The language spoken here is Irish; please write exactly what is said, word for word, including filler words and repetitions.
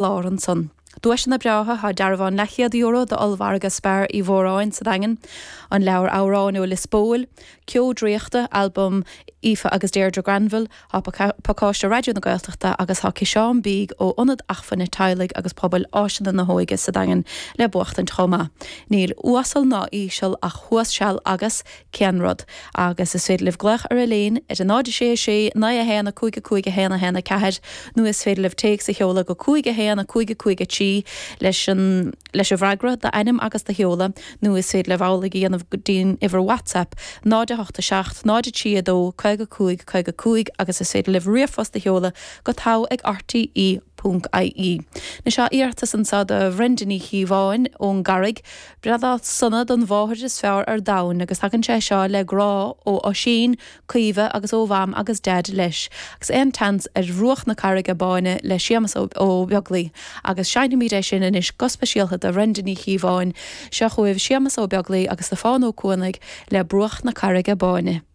lár ansan. Duaiseanna breátha tá dearbhán leathchéad euro d'ollmhargadh Spar Uí Mhóráin sa Daingean, an leabhar amhrán ó Lios Póil, Ceo Draíochta, albam Aoife agus Deirdre Granville, tá pacáiste Raidió na Gaeltachta agus tá ciseán bídh ó Ionad Acmhainne Teaghlaigh agus Pobail Áiseanna na hÓige sa Daingean le buachtaint chomh maith. Níl uasal ná íseal ach thuas seal agus cén rud, agus is féidir libh glaoch ar Elaine ar a náid sé sé naoi a haon a cúig a cúig a haon a haon a ceathair nó is féidir libh téacs a sheoladh go cúig a haon a cúig a cúig a trí leis an leis an bhfreagra d'ainm agus do sheoladh nó is féidir libh amhlaidh a dhéanamh go dtí'n uimhir WhatsApp náid a hocht a seacht náid a trí a dó caoga cúig caoga cúig agus is féidir libh ríomhphost a sheoladh go togha ag RTE ponc IE. Anois tá iarratas anseo do Bhrenda Ní Chíobháin ón gCarraig, Breithlá sona don mháthair is fearr ar domhan agus tagann sé seo le grá ó Oisín, Caoimhe agus ó Mham agus Deaid leis, agus aon tseans ar Bhruach na Carraige Báine le Séamus Ó Beaglaoi agus seinnfimid é sin anois go speisialta do Bhrenda Ní Chíobháin, seo chugaibh Séamus Ó Beaglaoi agus Stiofán Ó Cuanaigh le Bruach na Carraige Báine.